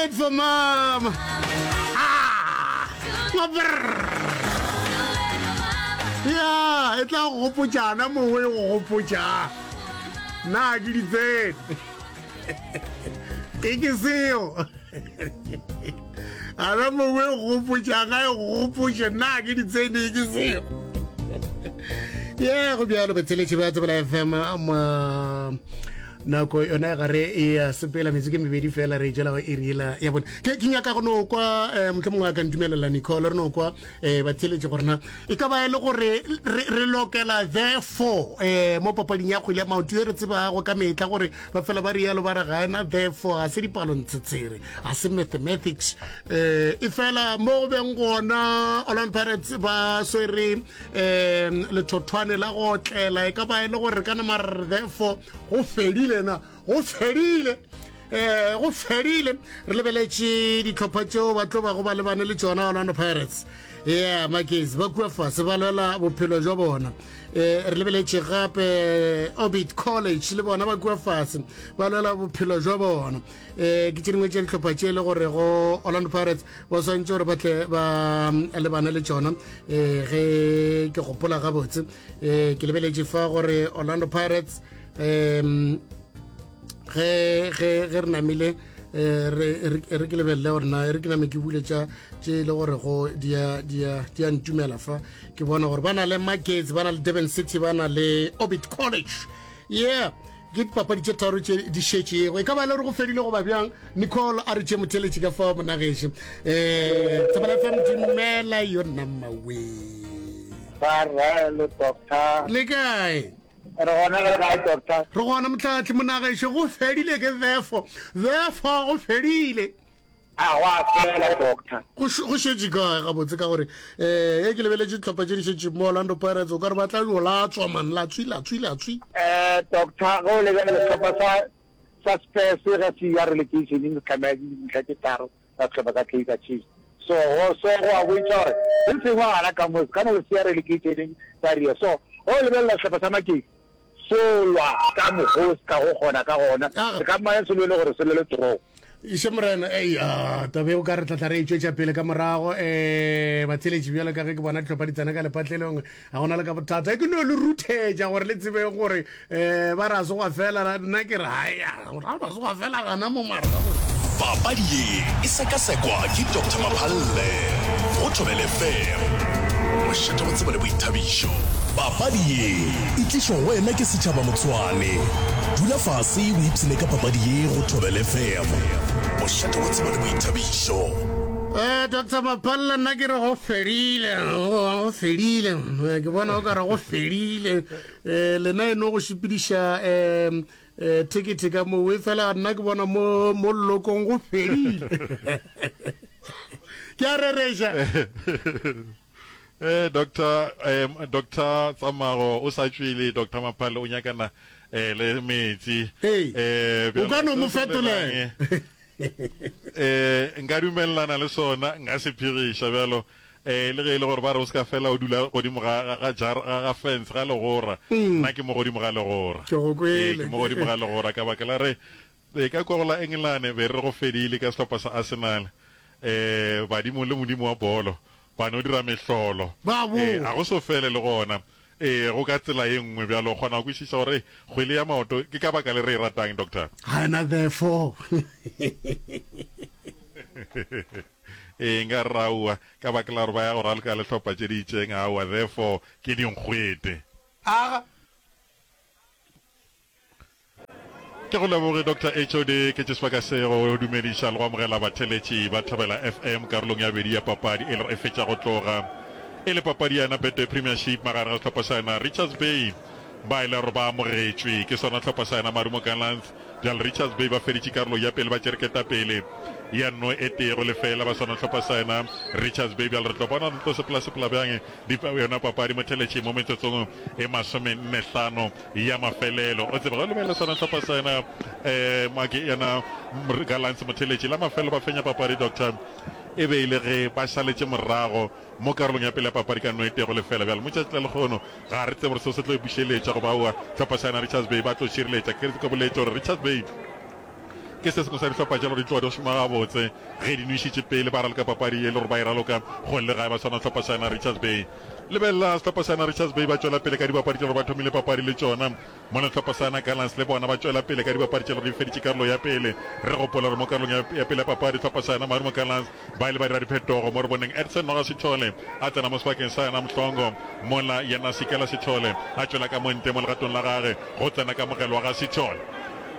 late for mama. Ah! Mabrrr. Ya, e tla go gopotšana mongwe e go gopotša. Na ke di tsene. E ke seo. Ana mongwe e go gopotša ga e go gopotše na ke di tsene e ke seo. Ye go bjalo batheletši ba Tsebela FM mo nako yona e gare e ya sepela metsi ke mebedi fela re jela go iri yela ya bone ke ke nyaka go no kwa um motlho mongwe a ka ntumelela nicole re no kwa um batheletši gore na e ka ba e le gore re lokela therefore um mo papading ya kgwele ya maoto e re tsebago ka metla gore ba fela ba rialo ba re ga ena therefore ga se dipalontshetshere ga se mathematics um e fela mo go beng gona Orlando Pirates ba swere um lethothwane la go otlela e ka ba e le gore ka nama re therefore go fedile na go fedile eh go fedile re lebeletše ditlhopha tšeo ba tlo bago ba lebane le tšona Orlando Pirates yeah makezi ba kua fase ba lwela bophelo jwa bona eh re lebeletše gape Orbit College le bona ba kua fase ba lwela bophelo jwa bona eh ke tše dingwe tša dihlopha tše e le gore go Orlando Pirates ba swantše gore ba tle ba lebane le tšona eh ge ke gopola gabotse eh ke lebeletše fa gore Orlando Pirates um ge ge ge re namile eh, re re ke lebelele gore na re ke name ke bule tša tše e le gore go di a di a di a ntumela fa ke bona gore ba na le Magets ba na le Durban City ba na le Orbit College yeah ke dipapadi tše tharo tše di šetšego e ka ba e le gore go fedile goba bjang nicole a re tše motheletši ka fao monageše um eh, tsebela fm dumela yo namawe le kae Re gona le kae doctor? Re gona motlhatli monagešo go fedile ke therefore therefore go fedile. A go a fela doctor. Go go šetše kae gabotse ka gore eh ge ke lebeletše dihlopha tše di šetše mo Orlando Pirates o ka re ba tla yo latswa man latswi latswi latswi. Eh doctor ge o lebelela sehlopha sa sa Spurs ge se ya relegation se tlameha dintlha tše tharo ka sehlopha sa Kaizer Chiefs. So go so go a bontšha gore se sengwe gana ka mo se ka no se ya relegationeng sa ria. So ge o lebelela sehlopha sa Makei se lwa ka mokgo se ka go kgona ka gona, se ka mmane se lwele gore se lwele draw. Iše morena, ei, a taba eo ka re tlatla re e tšwetša pele ka morago. Um batheeletši bjalo ka ge ke bona dihlopha di tsena ka lepatlelong, ga gona le ka bothata. Ke no le ruthetša gore le tsebe gore um ba re a se gwa fela, nna ke re hai, ga ba se gwa fela gana mo mara. Papadi ye e sekasekwa ke Doctor Maphalle go Thobela FM, mošate wa tsebo le boithabišo. Papadi ye e tlišwa go wena ke Setšhaba Motsoane. Dula fase o ipshine ka papadi ye go Thobela FM, mošate wa tsebo le boithabišo. Eh, Doctor Maphalle nna ke re go fedile, go fedile, ke bona o ka re go fedile. Eh, lena e no go šepediša um eh, thekethe ka moo e fela nna ke bona mo mo llokong go fedile ke a rereša Eh, doctor um doctor Tsamago o sa tšwele doctor Maphale o nyakana eh, le metsi Ee. eh O ka no mo bjalo, se se fetolela. bolelang, eh nka dumelelana le sona nka se phegiša bjalo Ee, le ge e le gore ba re o se ka fela o dula godimo ga, ga, ga, jar, ga, ga fence, ga legora. Nna ke mo godimo ga legora. Ke go Ee, kwele. ke mo godimo ga legora ka baka la re, ee, ka kua go la Engelane be re go fedile ka sehlopha sa Arsenal. Ee, badimo le modimo wa bolo ba no dira mehlolo. Ba Ee, boa. a go so fele le gona. Ee, go ka tsela ye nngwe bjalo o kgona go kwešiša gore kgwele ya maoto ke ka baka le re e ratang, Doctor. Ga ena therefore. Ee, nka re aowa, ka baka la gore ba ya go raloka le hlopha tše di itšeng, aowa, therefore ke dinkgwete. Aga. Ke go leboge Doctor HOD, ke tše sebaka se go dumediša le go amogela batheeletši ba Thobela FM karolong ya bobedi ya papadi e le e fetša go tloga e le papadi ya yona Betway Premiership magareng ga sehlopha sa yona Richards Bay ba e le gore ba amogetšwe ke sona hlopha sa yona Marumo Gallants Bjale Richards Bay ba feditše karolo ya pele ba tšere ketapele ya no e tee go lefeela ba swana hlopha sa yena Richards Bay. Bjale re tlo bona re tlo sepela-sepela bjang di yona papadi motheletši mo metsotsong e masomennehlano ya mafelelo. O tsebe ge o lebelela sona hlopha sa yena um make yena Gallants motheletši la mafelelo ba fenya papadi Doctor e be e le ge ba šaletše morago Mo karolong ya pele ya papadi ka no e tee go lefela bjale mo tšatši la lekgono ga re tsebe gore seo se tlo e bušeletša goba aowa. Hlopha sa yona Richards Bay ba tlo šireletša. Ke ke boletše gore Richards Bay Ke se sengwe sa dihlopha tše le gore di tloga di šoma gabotse ge di nwešitše pele ba raloka papadi ye le gore ba e raloka kgole le gae ba swana sehlopha sa yena Richards Bay. Lebelela sehlopha sa yena Richards Bay ba tšwela pele ka dibapadi tše le gore ba thomile papadi le tšona. Mola sehlopha sa yena Gallants le bona ba tšwela pele ka dibapadi tše le gore di feditše karolo ya pele. Re gopola gore mo karolong ya ya pele ya papadi sehlopha sa yena Marumo Gallants ba ile ba dira diphetogo mo re boneng Edson Noga Sithole a tsena mo sebakeng sa yena Mhlongo mola yena Sikela Sithole a tšwela ka mo ntle mo legatong la gage go tsena kamogelo wa ga Sithole.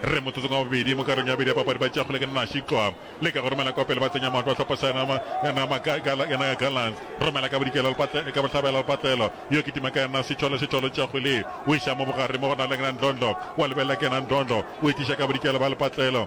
Re motsotsong wa bobedi mo karolong ya bobedi ya papadi ba tšea kgole ke Nashi Tlwa leka go romela kwa pele ba tsenya maoto a hlopha sa yena yena yena Gallants romela ka bodikela ka bohlabela lepatlelo yo kitima ka yena Sithole Sithole tšea kgwele o iša mo bogare mo go na le yena Ndlondlo wa lebelela ke yena Ndlondlo o e tliša ka bodikela ba lepatlelo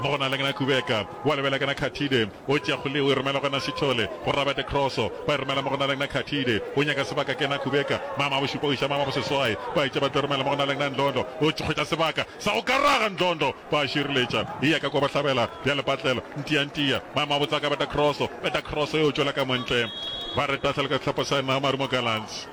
mo go na le yena Kubeka wa lebelela ke yena Khathide o tšea kgwele o e romela go yena Sithole go Robert Crosso ba e romela mo go na le yena Khathide o nyaka sebaka ke yena Kubeka mama bošupa o iša mama boseswai ba etša ba tlo romela mo go na le yena Ndlondlo o hwetša sebaka sa go karaga Ndlondlo ba šireletša e ya ka kwa bohlabela bja lepatlelo ntiantia mama botsa ka beta Crosso beta Crosso e o tšwela ka montle ba re tahlelo ka sehlopha sa yena Marumo Gallants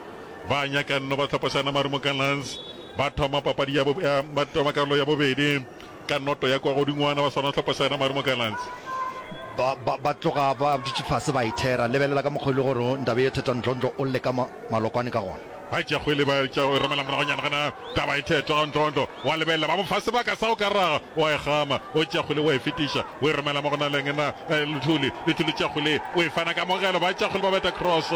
ba nyaka nno ba sehlopha sa yena Marumo Gallants ba thoma papadi ya ba thoma karolo ya bobedi Ka noto ya kwa godingwana ba swana sehlopha sa yena Marumo Gallants. Ba, ba, ba tloga ba dutše fase ba ithera. Lebelela ka mokgwa e le gore Ndaba ye Thetwa Ndlondlo o lle ka ma, malokwane ka gona. Ba tšea kgwele ba tšea go e romela moragonyana gona taba e thetwa ga Ndlondlo wa lebelela ba mo fa sebaka sa go ka raga o a e gama o tšea kgwele o a e fetiša o e romela mo go na leng na Luthuli Luthuli tšea kgwele o e fana kamogelo ba tšea kgwele ba beta cross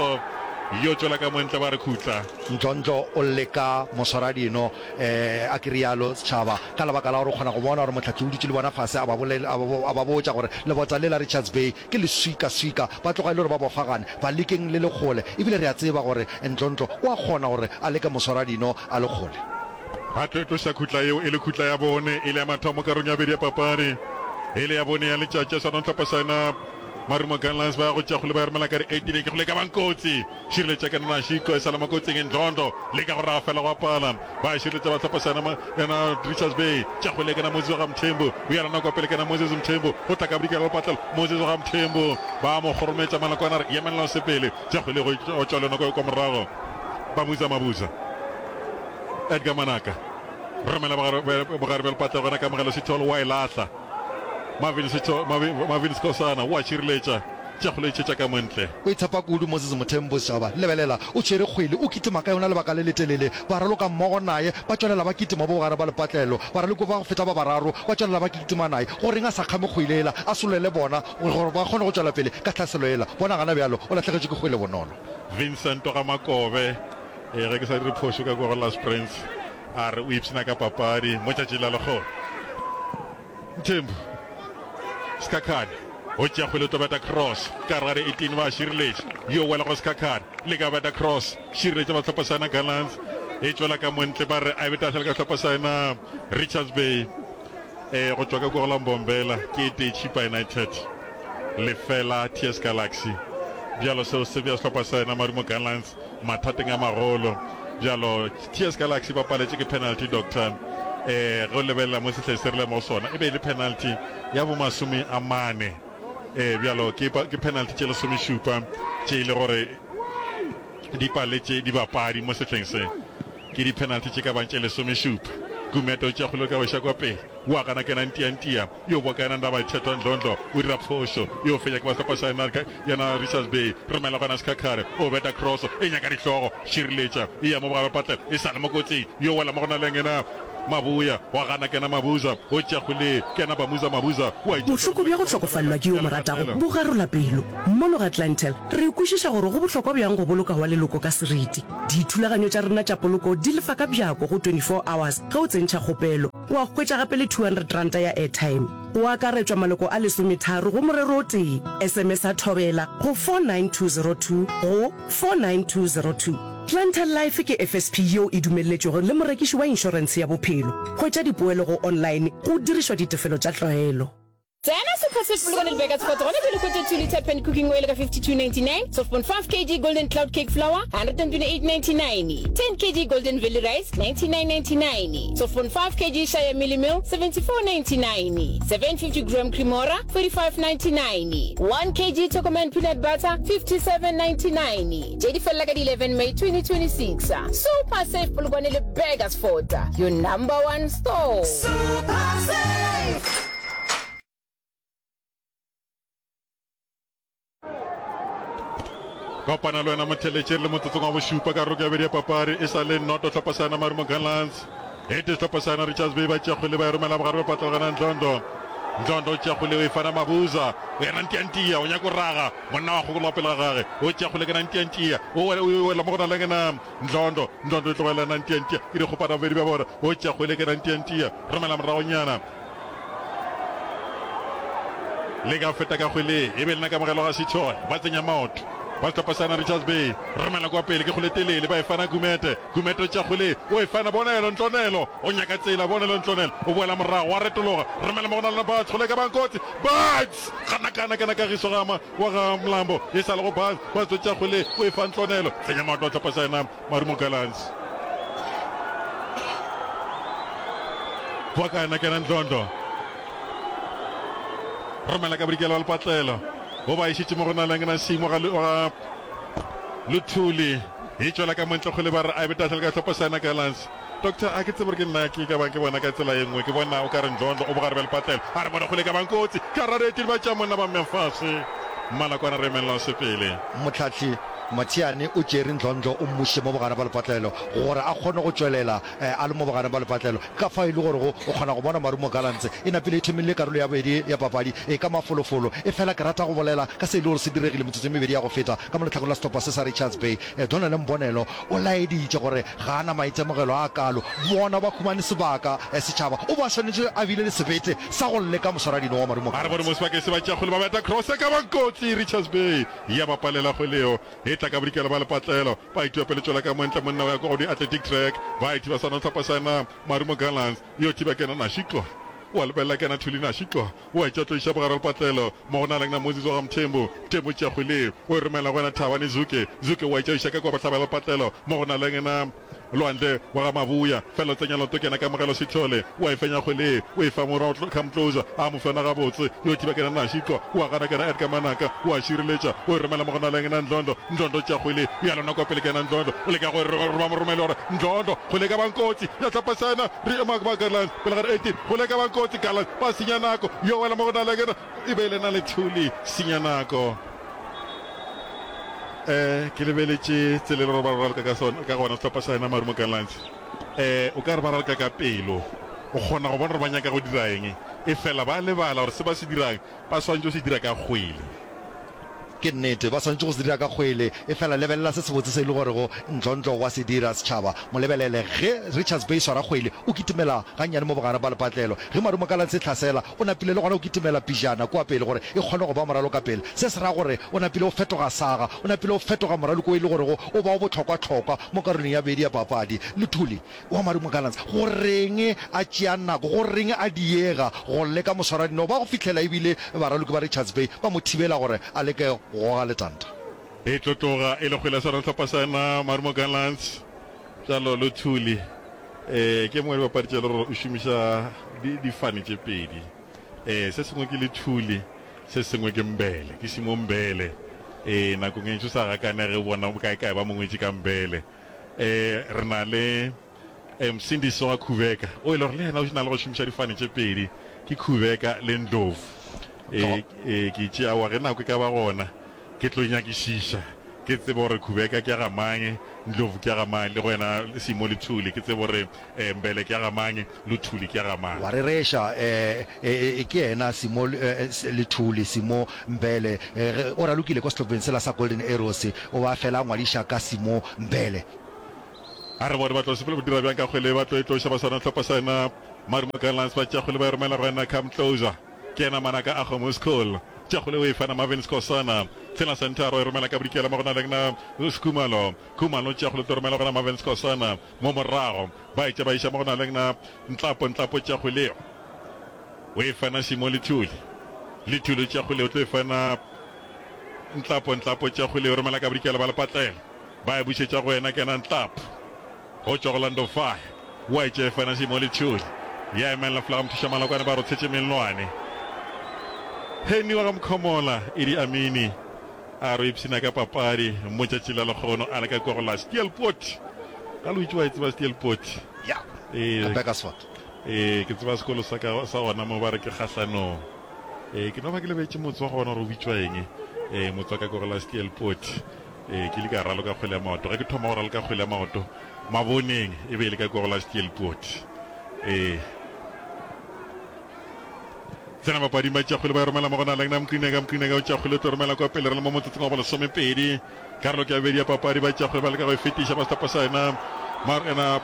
yo tšwela ka montle ba re khutla. Ndlondlo o lle ka moswaradino Eh, a ke realo, setšhaba, ka lebaka la gore o kgona go bona gore mohlahli o dutše le bona fase a ba bolel, a ba, a ba botša gore lebota le la Richards Bay ke leswikaswika, ba tloga e le gore ba bofagane, ba lekeng le le kgole, ebile re a tseba gore Ntlontlo o a kgona gore a leke moswaradino a le kgole. Ba tlo tloša khutla yeo e le khutla ya bone, e le ya mathomo karolong ya bobedi ya papadi, e le ya bone ya letšatši. Sona sehlopha sa yona Marumo Gallants ba ya go tšea kgole ba e romela ka di-18 ke kgole e ka bang kotsi. Šireletša ke nna Shiko e sa le mo kotsing Ndlondo leka go raga fela go apala ba šireletša ba hlopha sena yena Richards Bay tša kgwele ke na Moses wa ga Mthembu o ya lona kwa pele ke na Moses Mthembu go tla ka bodikela lepatlelo Moses wa ga Mthembu ba mo kgorometša malokwana re yemelela o sepele tša kgwele go tšwa le yona kwa morago Babuza Mabuza Edgar Manaka romela bogare bja lepatlelo gona Kamogelo Sithole wa e lahla Marvin Sithole Marvin Skosana wa šireletša Tša go letšetša ka montle. O itshepa kudu Moses Mothembo Setšhaba. Lebelela, o tšere kgwele, o kitima ka yona lebaka le letelele. Baraloka mmogo naye ba tšwelela ba kitima bo bogare ba lepatlelo. Baraloki ba go feta ba bararo ba tšwelela ba kitima naye. Goreng a sa kgame kgwele yela, a solele bona gore ba kgone go tšwela pele ka tlhaselo yela? Bona gana bjalo, o lahlegetšwe ke kgwele bonolo. Vincent wa ga Makobe, ee, ge ke sa dire phošo, ka kua go Last Prince, a re o ipshina ka papadi mo tšatšing la lekgono. Mthembu, Sikhakhane o tšea kgwele o tlo beta cross ka gare ga di-18 ba šireletša yo wela go Sikhakhane leka beta cross šireletša ba sehlopha sa yena Gallants e tšwela ka montle ba re a e be tahlelo ka sehlopha sa yena Richards Bay e go tšwa ka kua go la Mbombela ke e tee Chippa United lefela TS Galaxy bjalo seo se bea sehlopha sa yena Marumo Gallants Mathateng a magolo bjalo, TS Galaxy ba paletše ke penalty doctor. Eh, ge o lebelela mo sehleng se re le mo sona, e be e le penalty ya bo masome a mane. Eh, bjalo ke, ke penalty tše lesomešupa tše e le gore di paletše dibapadi mo sehleng se. Ke di penalty tše ka bang tše lesomešupa. Gumede o tšea kgole ka go iša kwa pele. Wa gana kena ntiantia yo boka yena Ndaba Thetwa Ndlondlo o dira phošo yo fenya ke ba sehlopha sa yena yena Richards Bay romela gona Sikhakhare o beta cross e nyaka dihlogo šireletša e ya mo bogare patlela e sa le mo kotsing yo wela mo go na leng yena Mabuya wa gana kena Mabuza o tšea kgwele kena Bamuza Mabuza wa Bohloko bja go hlokofalelwa ke yo o mo ratago bo garola pelo. Mono ga Clientele, re kwešiša gore go bohlokwa bjang go boloka wa leloko ka seriti. Dithulaganyo tša rena tša poloko di lefa ka bjako go 24 hours ge o tsentšha kgopelo. Wa hwetša gape le R200 ya airtime. Go akaretšwa maloko a lesometharo go morero o tee. SMS-a Thobela go 49202 go 49202. Clientele Life ke FSP yeo e dumelletšwego le morekiši wa inšorentshe ya bophelo. Hwetša dipoelo go online go dirišwa ditefelo tša tlwaelo. Tsena. Super Save Polokwane le Burgersfort gona bjale hwetša 2 litre pan cooking oil ka 52.99, 12.5 kg Golden Cloud cake flour 128.99, 10 kg Golden Valley rice 99.99, 12.5 kg Shire mealie meal 74.99, 750 gram Cremora 45.99, 1 kg Tokoman peanut butter 57.99. Tše di felela ka di 11 May 2026. Super Save Polokwane le Burgersfort, your number one store. Super Save! Kopana le wena motheletše le motsotsong wa bošupa ka roko ya bedi ya papari e sa le noto hlopha sa yona Marumo Gallants e tee sehlopha sa yona Richards Bay ba tšea kgwele ba e romela bogare ba patlogana Ndlondo Ndlondo o tšea kgwele o e fana Mabuza o yena ntiantia o nyako raga monna wa kgokologa pele ga gage o tšea kgwele ke na ntiantia o wela mo go na le ngena Ndlondo Ndlondo e tlogela na ntiantia ke dikgopana bobedi bja bona o tšea kgwele ke na ntiantia romela moragonyana Le ka feta ka kgwele e be lena kamogelo ga Sithole. Ba tsenya maoto. Ba sehlopha sa na Richards Bay. Romela kwa pele ke kgwele telele ba e fana Gumete. Gumete o tšea kgwele o e fana Bonelo Ntlonelo. O nyaka tsela Bonelo Ntlonelo o boela morago wa retologa. Romela mo go na lena Buds kgwele e ka bang kotsi. Buds! Gana kana kana Kagiso ga wa ga Mlambo e sa le go Buds. Buds o tšea kgwele o e fa Ntlonelo. Tsenya maoto a sehlopha sa yena Marumo Gallants. Boa ka yena kena Ndlondo. Romela ka bodikela wa lepatlelo. Bo ba išitše mo go na leng na Simo ga ga Luthuli. E tšwela ka montle kgole ba re a be tahlelo ka hlopha sa yena Gallants. Doctor a ke tsebe gore ke nna ke ka bang ke bona ka tsela ye nngwe ke bona o ka re Ndlondo o bogare bja lepatlelo. A re bone kgole ka bang kotsi. Ka rareti ba tša monna ba mmea fase. Mmalakwana re emelela o sepele. Mohlahli Mathiane o tšere Ndlondlo o mmušitše mo bogare ba lepatlelo gore a kgone go tšwelela a le mo bogare ba lepatlelo. Ka fao e le gorego o kgona go bona Marumo Gallants e napile e thomile karolo ya bobedi ya papadi e ka mafolofolo. Efela ke rata go bolela ka se e le gore se diregile metsotso e mebedi ya go feta ka mo lehlakoreng la sehlopha se sa Richards Bay. Donald Mbonelo o laeditše gore ga a na maitemogelo a kalo. Bona ba humane sebaka setšhaba. O ba swanetše a bile le sebete sa go leka moswaradino wa Marumo A re bone Gallants. mo sebakeng se ba tšea kgwele ba beta cross e ka bang kotsi Richards Bay ya ba palela kgwele yeo e tla ka bodikela ba lepatlelo ba itiwa pele tšwela ka montle monna o ya kwa go di athletic track ba ithiba sona sehlopha sa yena Marumo Gallants yo thiba kena Nashiko wa lebelela kena Thuli Nashiko wa itša tlo iša bogare lepatlelo mo go na leng na Moses wa ga Mthembu Mthembu tšea kgwele o e romela go yena Thabane Zuke Zuke wa itša iša ka kwa bohlabela lepatlelo mo go na leng na Lwandle wa ga Mabuya, fela o tsenya leoto ke yena Kamogelo Sithole, o a e fenya kgwele, o e fa morwa Come Closer, a mo fena gabotse, yo thiba ke yena Nashiko, o a gana ke yena Edgar Manaka, o a šireletša, o e romela mo go naleng yena Ndlondo, Ndlondo o tšea kgwele, ya lona kwa pele ke yena Ndlondo, o leka go e roma moromeli gore Ndlondo, kgwele e ka bang kotsi, ya hlapa sa yena, re ema ba Garland, pele ga re 18, kgwele e ka bang kotsi, Garland, ba senya nako, yo wela mo go naleng yena. E be e le na le Thuli senya nako. Eh, ke lebeletše tsela e le gore ba raloka ka sona ka gona sehlopha sa yena Marumo Gallants. Eh, o ka re ba raloka ka pelo. O kgona go bona gore ba nyaka go dira eng, efela ba lebala gore se ba se dirang ba swanetše go se dira ka kgwele. Ke nnete, ba swanetše go se dira ka kgwele, efela lebelela se sebotse se e le gorego Ndlondlo wa se dira, setšhaba. Mo lebelele. Ge Richards Bay swara kgwele, o kitimela gannyane mo bogare ba lepatlelo. Ge Marumo Gallants e hlasela, o napile le gona o kitimela pejana kua pele gore e kgone go ba moralo ka pele. Se se ra gore o napile o fetoga saga, o napile o fetoga moraloko o e le gorego o ba o bohlokwahlokwa mo karolong ya bobedi ya papadi. Luthuli wa Marumo Gallants, go reng a tšea nako, go reng a diega go leka moswaradino ba go fihlela ebile baraloki ba Richards Bay ba mo thibela gore a leke go goga letanta. E tlo tloga e le kgwele ya sona sehlopha sa yena Marumo Gallants. Bjalo Luthuli eh ke mongwe wa dibapadi tše le gore o šomiša difane tše pedi. Eh se sengwe ke Luthuli, se sengwe ke Mbele, ke Simo Mbele. Eh nakong e ntši o sa gakanege o bona kae kae ba mo ngwetše ka Mbele. Eh re na le eh Msindisi wa Khubeka o e le gore le yena o na le go šomiša difane tše pedi, ke Khubeka le Ndlovu. Eh eh ke itše aowa ge nako e ka ba gona ke tlo nyakišiša ke tsebe gore Khubeka ke ya ga mang, Ndlovu ke ya ga mang, le go yena Simo Luthuli ke tsebe gore eh Mbele ke ya ga mang, Luthuli ke ya ga mang. Wa rereša, eh eh ke yena Simo Luthuli, Simo Mbele. Ge o ralokile kwa sehlopheng sela sa Golden Arrows, o ba fela a ngwadiša ka Simo Mbele. A re bone ba tlo sepela go dira bjang ka kgwele, ba tlo e tloša ba swana sehlopha sa yena Marumo Gallants, ba tšea kgwele ba e romela go yena Cam Closer, ke yena Manaka a kgomo School, tšea kgwele o e fana Marvin Skhosana, tshela senthara o e romela ka bodikela mo go na leng na Khumalo, Khumalo tšea kgwele o tlo romela go na Marvin Skhosana mo morago, ba e tšea ba iša mo go na leng na Ntlapo, Ntlapo tšea kgwele o e fana Simo Lethuli. Lethuli o tšea kgwele o tlo e fana Ntlapo, Ntlapo o tšea kgwele o romela ka bodikela ba lepatlela. Ba e bušetša go yena ke yena Ntlapo. Go tšwa go Orlando Fire. Wa e tšea e fana Simo Lethuli. Ya emelela folaga mothuša Malokwane ba rotshetše mellwane. Henny wa ga Mkhomola, Idi Amini a re o ipshina ka papadi mo tšatši la lekgono a le ka kua go la Steelpoort. Ga le itše wa e tseba Steelpoort? Ya, Ee, ka Burgersfort. Ee, ke tseba sekolo sa ka sa gona mo ba re ke kgahlanong. Ee, ke no ba ke lebetše motse wa gona gore o bitšwa eng. Ee, motse wa ka kua go la Steelpoort. Ee, ke ile ka raloka kgwele ya maoto. Ge ke thoma go raloka kgwele ya maoto maboneng e be e le ka kua go la Steelpoort. Ee. Tsena papading ba tšea kgwele ba e romela mo go na Lengna Mqineka. Mqineka o tšea kgwele o tlo romela kwa pele re le mo motsotsong wa bolesomepedi. Karolo ke ya bobedi ya papadi ba tšea kgwele ba leka go e fetiša ba sehlopha sa yena Marena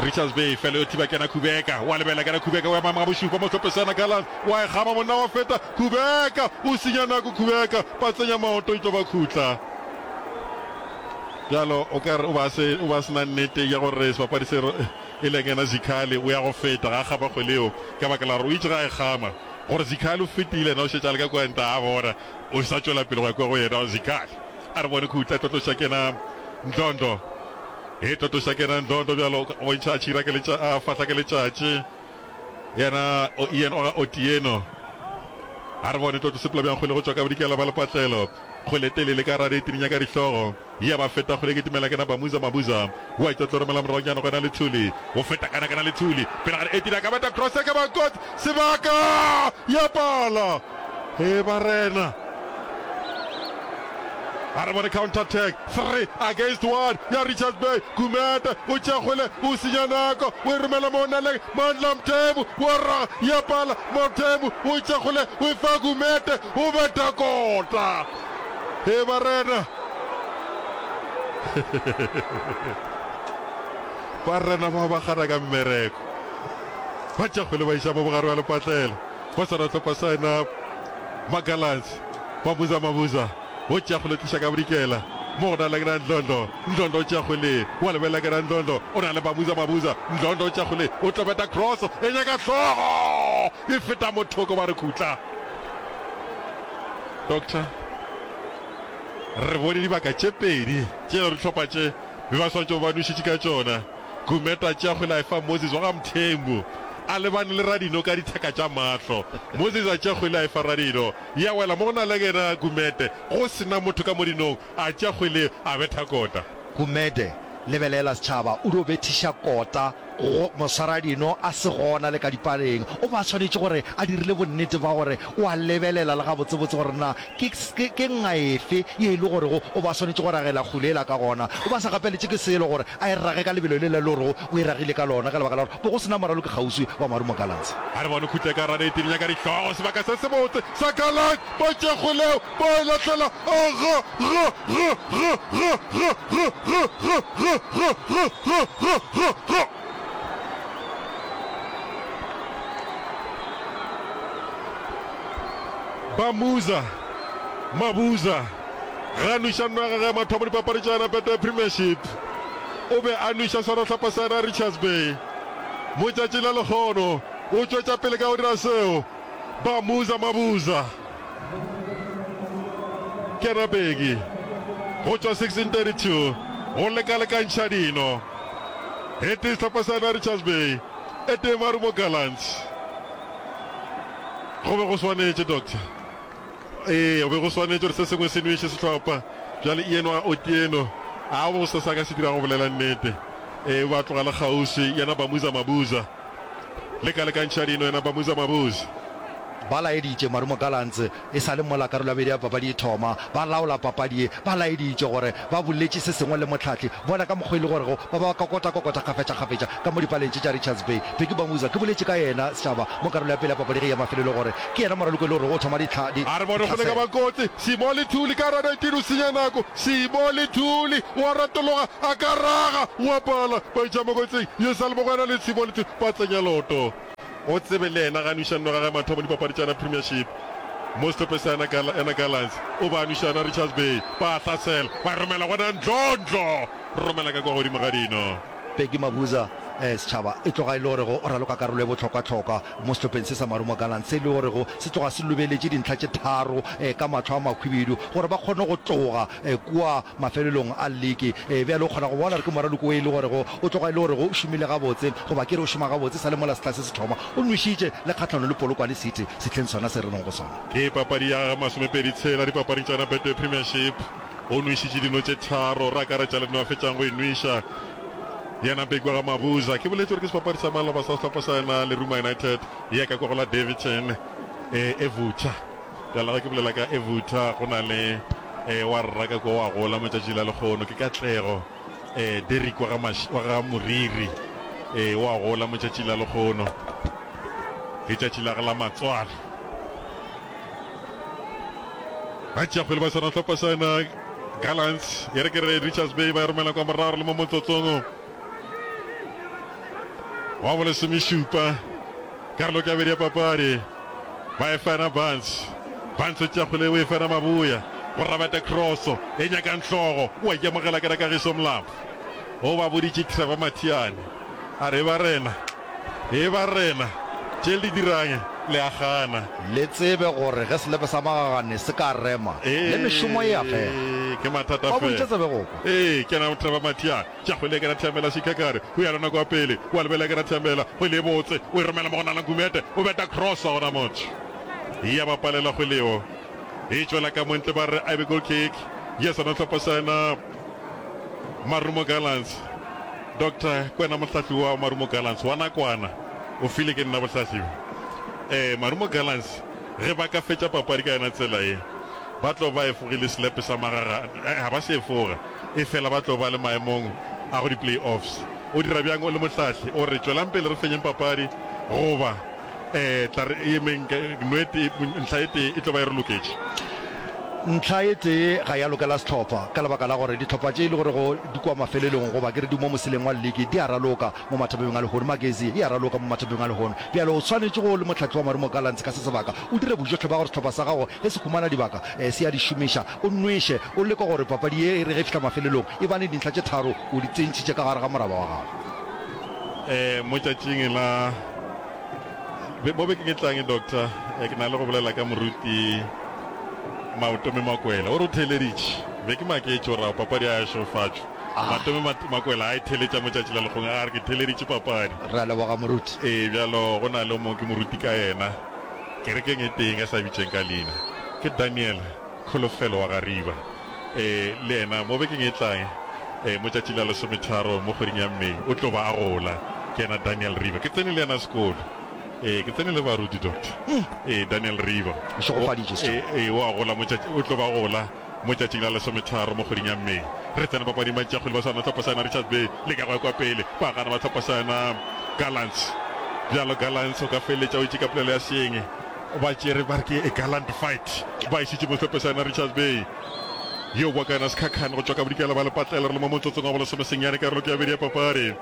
Richards Bay fela yo thiba kena Khubeka wa lebela kena Khubeka o ema ga bošupa mo sehlopha sa yena Gallants wa e gama monna wa feta Khubeka o senya nako Khubeka ba tsenya maoto e tlo ba khutla bjalo o ka re o ba se o ba sena nnete ya gore sebapadi se e leng yena Zikhali o ya go feta ga gama kgwele eo ka baka la gore o itse ga e gama gore Zikhali o fetile yena o šetše a le ka kwa nta a bona O sa tšwela pele go ya kua go yena Zikhali. A re bone khutla e tlotloša kena Ndlondo. E tlotloša kena Ndlondo bjalo go bontšha a tšhira ke letša a fahla ke letšatši. Yena o Ian o ga Otieno. A re bone tlotlo sepela bjang kgwele go tšwa ka bodikela ba lepatlelo. Kgwele telele ka rare e tirinya ka dihlogo. Ya ba feta kgwele e kitimela kena Bamuza Mabuza. Wa e tlotlo romela moragonyana go yena Lethuli. O feta kana kana Lethuli. Pele ga 18 a ka beta cross e ka ba kotsi. Sebaka! Ya pala! He barena! A re bone counter attack. 3 against 1 ya Richards Bay. Gumede o tšea kgwele, o senya nako, o e romela mo naleng. Mandla Mthembu wa raga, ya pala. Mthembu o tšea kgwele, o e fa Gumede, o beta kota. He barena! Barena bao ba gana ka mmereko. Ba tšea kgwele ba iša mo bogare bja lepatlela. Ba swara sehlopha sa yena Magalans. Mabuza Mabuza o tšea kgwele o tliša ka bodikela mo go na le kena Ndlondlo. Ndlondlo o tšea kgwele wa lebelela kena Ndlondlo o na le Mabuza Mabuza. Ndlondlo o tšea kgwele o tlo beta cross e nyaka hlogo e feta mothoko ba re khutla. Doctor re bone dibaka tše pedi tše le dihlopha tše be ba swanetše go ba nwešitše ka tšona. Gumede a tšea kgwele a e fa Moses wa ga Mthembu a lebane le Radino ka ditheka tša mahlo. Moses a tšea kgwele a e fa Radino, ya wela mo go na le yena Gumede, go se na motho ka mo dinong, a tšea kgwele a betha kota. Gumede, Lebelela setšhaba, o dio bethiša kota go moswaradino a se gona le ka dipaleng. O be a swanetše gore a dirile bonnete ba gore o a lebelela le gabotsebotse gore na ke, ke, ke nga efe ye e le gorego o be a swanetše go ragela kgwele yela ka gona. O be a sa gapeletše ke selo gore a e rage ka lebelo lela le gorego o e ragile ka lona, ka lebaka la gore bo go se na moraloki kgauswi wa Marumo Gallants. A re bone khutle ka Raneti di nyaka dihlogo, sebaka se sebotse sa Gallants, ba tšea kgwele yeo ba e lahlela, a ga, ga, ga, ga, ga, ga, ga, ga, ga, ga, ga, ga, ga, ga, ga, ga. Bamuza, Mabuza, ga nweša nno ya gagwe ya mathomo dipapadi tša yona Betway Premiership. O be a nweša swarwahlopha sa yona Richards Bay. Mo tšatšing la lekgono o tšwetša pele ka go dira seo. Bamuza Mabuza Kena Beki go tšwa 1632 go lekalekantšha dino. E tee sehlopha sa yona Richards Bay, e tee Marumo Gallants. Go be go swanetše, Doctor. Ee, go be go swanetše gore se sengwe se nweše sehlopha. Bjale Ian wa Otieno, a go se sa ka se dira go bolela nnete. Ee, o be a tloga le kgauswi, yena Bamuza Mabuza. Lekalekantšha dino, yena Bamuza Mabuza. Ba laeditše Marumo Gallants e sa le mola karolo ya bobedi ya papadi e thoma. Ba laola papadi ye. Ba laeditše gore ba boletše se sengwe le mohlahli. Bona ka mokgwa e le gorego ba ba kokota-kokota kgafetša-kgafetša ka mo dipaleng tše tša Richards Bay. Bheki Bamuza, ke boletše ka yena, setšhaba, mo karolo ya pele ya papadi ge e ya mafelelong gore ke yena moraloko e le gorego o thoma dihla, di, A re bone go leka ditlhaselo. ba kotsi. Simo Lethuli ka gare 19 o senya nako. Simo Lethuli o a retologa a ka raga o a pala. Ba iša mo kotsing. Ye sa le mo go yena le Simo Lethuli ba tsenya loto. O tsebe le yena ga nweša nno gagwe mathomo dipapadi tša yena Premiership mo sehlopheng sa yena yena Gallants. O ba nweša yena Richards Bay. Ba a hlasela. Ba romela gona Ndlondlo. Romela ka kwa godimo ga dino. Bheki Mabuza. Setšhaba e tloga e le gorego o raloka karolo e bohlokwahlokwa mo sehlopheng se sa Marumo Gallants se e le gorego se tloga se lobeletše dintlha tše tharo ka mahlo a makhwibidu gore ba kgone go tloga kua mafelelong a liki. Bjale o kgona go bona gore ke moraloko o e le gorego o tloga e le gorego o šomile gabotse goba ke re o šoma gabotse sa le mola sehla se se thoma. O nwešitše le kgahlanong le Polokwane City sehleng sona se re leng go sona. Ke papadi ya masomepedi tshela dipapading tša Betway Premiership. O nwešitše dino tše tharo, re akaretša le no a fetšang go e nweša. Yena Big wa ga Mabuza. Ke boletše gore ke sebapadi sa maloba sa sehlopha sa yena Leruma United ya ka kwa go la Daveyton e Evutha. Bjale ge ke bolela ka Evutha go na le e wa rra ka kwa wa gola motšatši la lekgono ke Katlego e Derrick wa ga wa ga Moriri e wa gola motšatši la lekgono. Letšatši la ge la matswalo. Ba tšea kgwele ba swana hlopha sa yena Gallants e re ke re Richards Bay ba e romela kwa morago re le mo motsotsong wa bolesomešupa karolo ke ya bedi ya papadi ba e fana Barnes Barnes o tšea kgwele o e fana Mabuya go rabata crosso e nyakang hlogo o a ikemogela ke Kagiso Molapo o ba boditše Trevor Mathiane a re ba rena E ba rena, tše le di dirang le a gana. Le tsebe gore ge selepe sa magagane se ka rema, le mešomo e a fela. Ee, ke mathata Ba fela. boditše tsebe go kwa. Ee, ke na Trevor Mathiane. Tša kgwele ke na Thiamela Shikakare. O ya lona kwa pele. O a lebelela ke na Thiamela. Kgwele e botse. O e romela mo go Nala Gumede. O beta cross gona motho. Ya ba palela kgwele eo. E tšwela ka montle ba re a be goal kick. Ya sona hlopha sa yena Marumo Gallants. Doctor Kwena mohlahli wa Marumo Gallants wa nakwana o file ke nna bohlahli bjo. Ee, Marumo Gallants ge ba ka fetša papadi ka yona tsela ye, ba tlo ba efogile selepe sa magaga, ga ba se efoga, efela ba tlo ba le maemong a go di-play-offs. O dira bjang o le mohlahli? O re, Tšwelang pele re fenyeng papadi goba E tla re emeng, nwete, ntlha e tee e tlo ba e re loketše. Ntlha e tee ga ya lokela sehlopha ka lebaka la gore dihlopha tše e le gorego di kua mafelelong goba ke re di mo moseleng wa lliki di a raloka mo mathapemeng a lehono. Magezi e a raloka mo mathapemeng a lehono. Bjale o swanetše go le mohlahli wa Marumo Gallants ka se sebaka o dire bojohle ba gore sehlopha sa gago ge se humana dibaka se a di šomiša. O nweše, o leke gore papadi ye e re ge e fihla mafelelong e bane dintlha tše tharo o di tsentšhitše ka gare ga moraba wa gago. Mo tšatšing la. Mo bekeng e tlang, Doctor, ke na le go bolela ka Moruti Maotome Makwela. O re o theeleditše. Be ke maketše gore ao papadi a ya šegofatšwa. Matome Makwela a e theeletša mo tšatši la lekgong. A re ke theeleditše papadi. Re a leboga Moruti. Ee, bjalo go na le o mongwe ke moruti ka yena kerekeng e tee nka sa bitšeng ka leina. Ke Daniel Kholofelo wa ga Riba. Ee, le yena mo bekeng e tlang, ee, mo tšatšing la lesometharo mo kgweding ya May, o tlo ba a gola. Ke yena Daniel Riba. Ke tsene le yena sekolo. Ee, ke tsene le baruti, Doctor. Ee, Daniel Riba. O šegofaditšwe, setšhaba. Ee, ee, o a gola mo tšatši, o tlo ba gola mo tšatšing la lesometharo mo kgweding ya May. Re tsena papading ba tšea kgwele ba swana hlopha sa yena Richards Bay, leka go ya kwa pele, ba gana ba hlopha sa yena Gallants. Bjalo Gallants o ka feleletša o itše ka polelo ya seeng. Ba tšere ba re ke a gallant fight. Ba išitše Mohlophe sa yena Richards Bay. Yo boa ka yena Sekhakhane go tšwa ka bodikela ba lepatlela re le mo motsotsong wa bolesomesenyane karolo ke ya bedi ya papadi.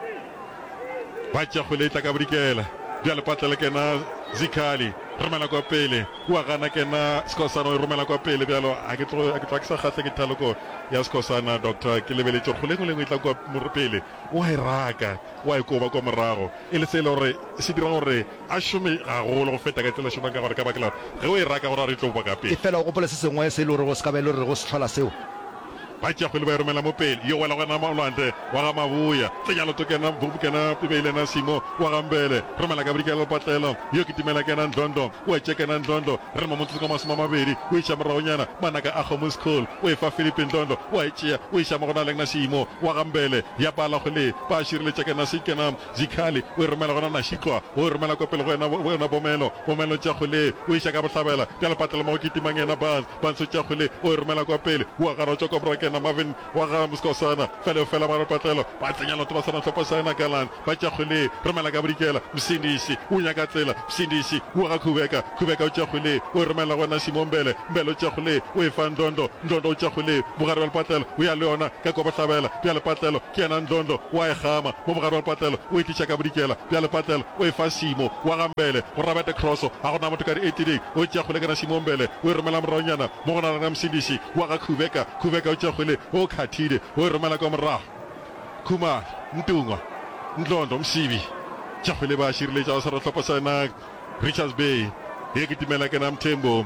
Ba tšea kgwele e tla ka bodikela bja lepatlela ke yena Zikhali romela kwa pele wa gana ke yena Skhosana o e romela kwa pele bjalo a ke tloge a ke tloga ke sa kgahle ke thaloko ya Skhosana Doctor ke lebeletše gore kgwele e nngwe le nngwe e tla kwa pele wa e raka wa e koba kwa morago e le se e le gore se dira gore a šome gagolo go feta ka tsela šomang ka gore ka baka la gore ge o e raka go ra gore e tlo boa ka pele. Efela o gopole se sengwe se e le gorego se ka ba e le gore go se hlola seo. Ba tšea kgwele ba e romela mo pele, yo wela go yena Malwandle wa ga Maboya, tsenya leoto kena kena e be e le yena Simo wa ga Mbele, romela ka bodikela lepatlelo, yo kitimela kena Ndlondo, o etše kena Ndlondo, re mo motsotsong wa masomeamabedi, o iša moragonyana manaka a kgomo school, o e fa Philip Ndlondo, o a e tšea, o iša mo go na leng na Simo wa ga Mbele, ya pala kgwele, ba šireletša kena se kena Zikhali o e romela gona Nashitlwa o e romela kwa pele go yena, go yena Bomelo. Bomelo tšea kgwele o iša ka bohlabela bja lepatlelo mo go kitimang yena Barnes. Barnes o tšea kgwele o e romela kwa pele. O a gana o tšwa kwa morago ke yena Marvin wa ga Mskosana. Fela o fela ba lepatlelo ba tsenya leoto ba swana hlopha sa yena Gallant. Ba tšea kgwele romela ka bodikela. Msindisi o nyaka tsela. Msindisi wa ga Khubeka. Khubeka o tšea kgwele o e romela go yena Simo Mbele. Mbele o tšea kgwele o e fa Ndlondo. Ndlondo o tšea kgwele bogare bja lepatlelo o ya le yona ka kwa bohlabela bja lepatlelo. Ke yena Ndlondo o a e gama mo bogare bja lepatlelo, o e tliša ka bodikela bja lepatlelo, o e fa Simo wa ga Mbele go Robert Croso. Ga go na motho ka di-eighteen. O tšea kgwele ka na Simo Mbele, o e romela moragonyana mo go na le Msindisi wa ga Khubeka. Khubeka o tšea kgwele, o khathile, o e romela kwa morago. Khumalo, Ntungwa. Ndlondlo, Msibi, tša kgwele ba šireletša go swara sehlopha sa yena Richards Bay. E kitimela kena Mthembu,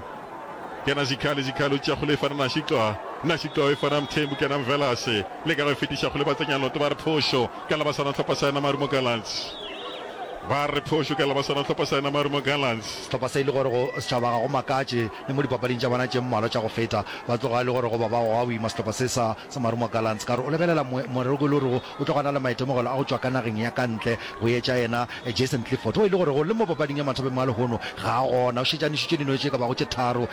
kena Zikhali, Zikhali o tšea kgwele e fana Nashixwa, Nashixwa o e fana Mthembu, kena Mvelase, leka go e fetiša kgwele ba tsenya loto ba re phošo ka la ba swana sehlopha sa yena Marumo Gallants. Ba re phošo ka la ba swana sehlopha sa yena Marumo Gallants. Sehlopha se e le gore go setšhaba ga go makatše le mo dipapading tša bona tše mmalwa tša go feta ba tloga e le gore goba ba goga boima sehlopha se sa sa Marumo Gallants ka gore o lebelela moreko e le gorego o tloga a na le maitemogelo a go tšwa ka nageng ya ka ntle go etša yena Jason Clifford o e le gorego le mo papading ya mathapeng a lehono ga a gona o šetše a nwešitše dino tše ka bago tše tharo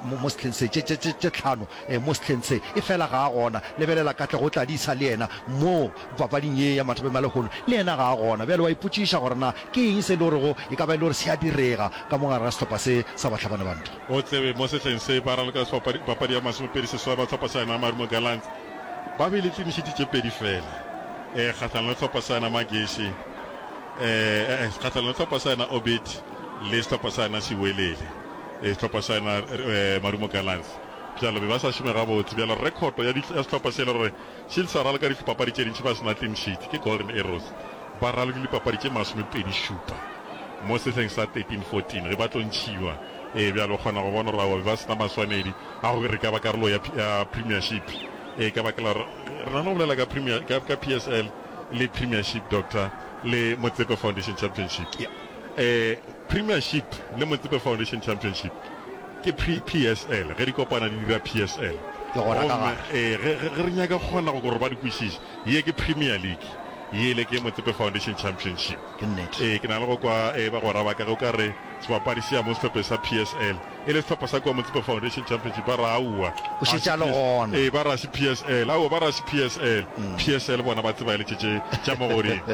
mo sehleng se tše tše tše tlhano mo sehleng se efela ga a gona. Lebelela Katlego Tladisa le yena mo papading ye ya mathapeng a lehono le yena ga a gona. Bjale wa ipotšiša gore na ke eng se e le gorego e ka ba e le gore se a direga ka mo gare ga sehlopha se sa bahlabani ba ntwa. O tsebe, mo sehleng se ba raloka papadi ya 26 ba hlopha sa yena Marumo Gallants ba bile clean sheet tše pedi fela eh kgahlanong le hlopha sa yena Magesi eh eh kgahlanong le hlopha sa yena Orbit le sehlopha sa yena Siwelele eh sehlopha sa yena eh Marumo Gallants bjalo be ba sa šome gabotse bjalo rekhoto ya ya sehlopha se le gore se sa raloka dipapadi tše dintši ba se na clean sheet ke Golden Arrows ba ralokile dipapadi tše 27 mo sehleng sa 13 14 ge ba tlo ntšhiwa ee bjalo o kgona go bona gore aowa be ba se na maswanedi a gore re ka ba karolo ya, ya Premiership. Ee, ka baka la gore re na le go bolela ka, Premier, ka, ka PSL le Premiership, Doctor, le Motsepe Foundation Championship. Yeah. Eh, Premiership le Motsepe Foundation Championship ke P, PSL, ge di kopana di dira PSL. Ke gona ka Gomme, gare. ee, ge, ge, ge re nyaka go kgona go gore ba di kwešiše, ye ke Premier League, yele ke Motsepe Foundation Championship. Ke nnete. Ee, ke na le go kwa eh, bagwera ba ka ge o ka re sebapadi se ya mo sehlopheng sa PSL e le sehlopha sa kua Motsepe Foundation Championship, ba re aowa, O ga šetše se a le PS gona. Ee, ba re ga se PSL, aowa, ba re ga se PSL. PSL bona ba tseba e le tše tše tša mo godimo.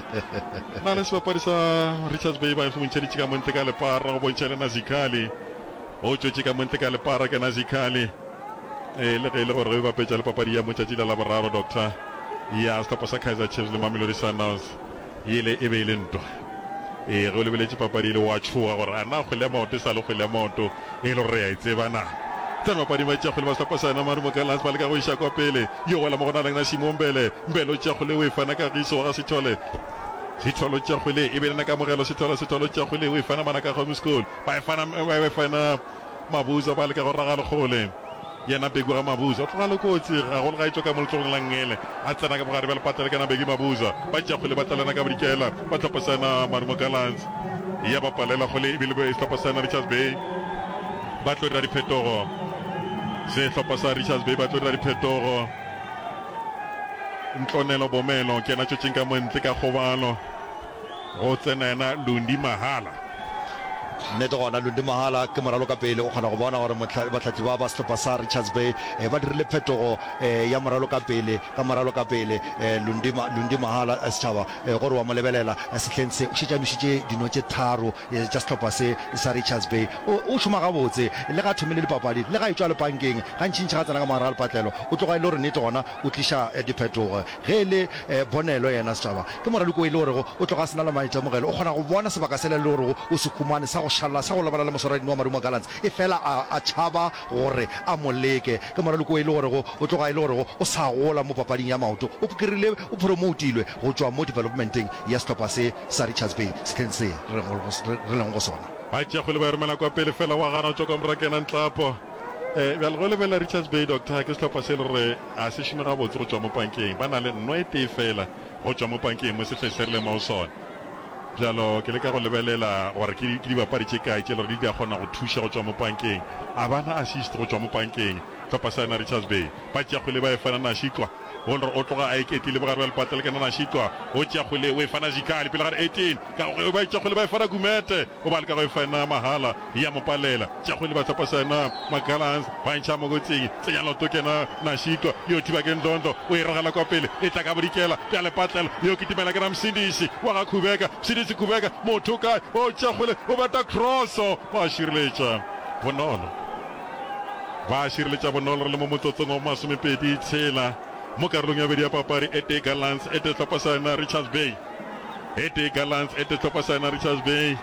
Na le sebapadi sa Richards Bay ba mo ntšheditše ka montle ka lepara go bontšha le Nazikhali. O tšwetše ka montle ka lepara ke Nazikhali. Ee, le ge e le gore ge o bapetša le papadi ya motšatši la Laboraro, Doctor, ya sehlopha sa Kaizer Chiefs le Mamelodi Sundowns, Yele e be e le ntwa. Ee, ge o lebeletše papadi yele o a tšhoga gore a na kgwele ya maoto e sa le kgwele ya maoto e le gore re a e tseba na. Tsena papading ba tšea kgwele ba sehlopha sa yena Marumo Gallants ba leka go iša kwa pele. Yo wela mo go na leng na Simo Mbele. Mbele o tšea kgwele o e fana Kagiso wa ga Sithole. Sithole o tšea kgwele e be le na Kamogelo Sithole Sithole o tšea kgwele o e fana Manaka Home School. Ba e fana ba e fana Mabuza ba leka go raga lekgole. Yena Bheki wa ga Mabuza o tloga le kotsi gagolo ga e tšwa ka mo letsogong la nngele. A tsena ka bogare bja lepatla le kena Bheki Mabuza. Ba tšea kgwele ba tlalena ka bodikela. Ba hlopha sa yena Marumo Gallants. Ya ba palela kgwele ebile sehlopha sa yena Richards Bay ba tlo dira diphetogo. Sehlopha sa Richards Bay ba tlo dira diphetogo. Ntlonelo Bomelo ke yena tšwetšeng ka montle ka kgobalo. Go tsena yena Lundi Mahala. Nnete gona, Lundi Mahala ke moraloka pele. O kgona go bona gore bahlahli ba ba sehlopha sa Richards Bay ba dirile phetogo ya moraloka pele ka moraloka pele. Lundi, Lundi Mahala, setšhaba gore wa mo lebelela sehleng se, o šetše a nwešitše dino tše tharo tša sehlopha se sa Richards Bay. O, o šoma gabotse le ga a thomile dipapadi, le ga a etšwa lepankeng, gantšintši ga a tsena ka mogare ga lepatlelo, o tloga e le gore nnete gona o tliša diphetogo. Ge e le Bonelo yena, setšhaba, ke moraloko o e le gorego o tloga a se na le maitemogelo. O kgona go bona sebaka sela e le gorego o se humane sa go šalla, sa go lebana le moswaradino wa Marumo Gallants, efela a, a tšhaba gore a mo leke. Ke moraloko o e le gorego o tloga e le gorego o sa gola mo papading ya maoto. O kry-ile, o promoutilwe go tšwa mo developmenteng ya sehlopha se sa Richards Bay sehleng se re, re lego go sona. Ba tšea kgwele ba e romela kwa pele, fela wa gana go tšwa kwa morago ke yena Ntlapo. Bjale ge o lebelela Richards Bay, Doctor, ke sehlopha se e le gore a se šome gabotse go tšwa mo pankeng. Ba na le nno e tee feela go tšwa mo pankeng mo sehleng se re leng mo go sona. Bjalo ke leka go lebelela gore ke, ke dibapadi tše kae tše e le gore di ka kgona go thuša go tšwa mo pankeng. A ba na assist go tšwa mo pankeng, sehlopha sa yona Richards Bay. Ba tšea kgwele ba e fana Nashikwa, go le gore o tloga a iketlile bogare bja lepatlelo ke na Nashikwa. O tšea kgwele o e fana Zikhali pele ga 18. Ka go ba e tšea kgwele ba e fana Gumete. O ba leka go e fena mahala, ya mo palela. Tša kgwele ba hlopha sena Magalans, ba ntšha mo kotsing. Tsenya leoto kena Nashiko, yo thiba ke Ndlondo, o e ragela kwa pele, e tla ka bodikela bja lepatlelo. Yo kitimela ke Ramsindisi wa ga Khubeka, Msindisi Khubeka, motho kae? O tšea kgwele, o bata crosso, ba šireletša bonolo. Ba šireletša bonolo re le mo motsotsong wa bomasomepedi tshela mo karolong ya bobedi ya papadi. E tee Gallants, e tee hlopha sa yona Richards Bay. E tee Gallants, e tee hlopha sa yona Richards Bay.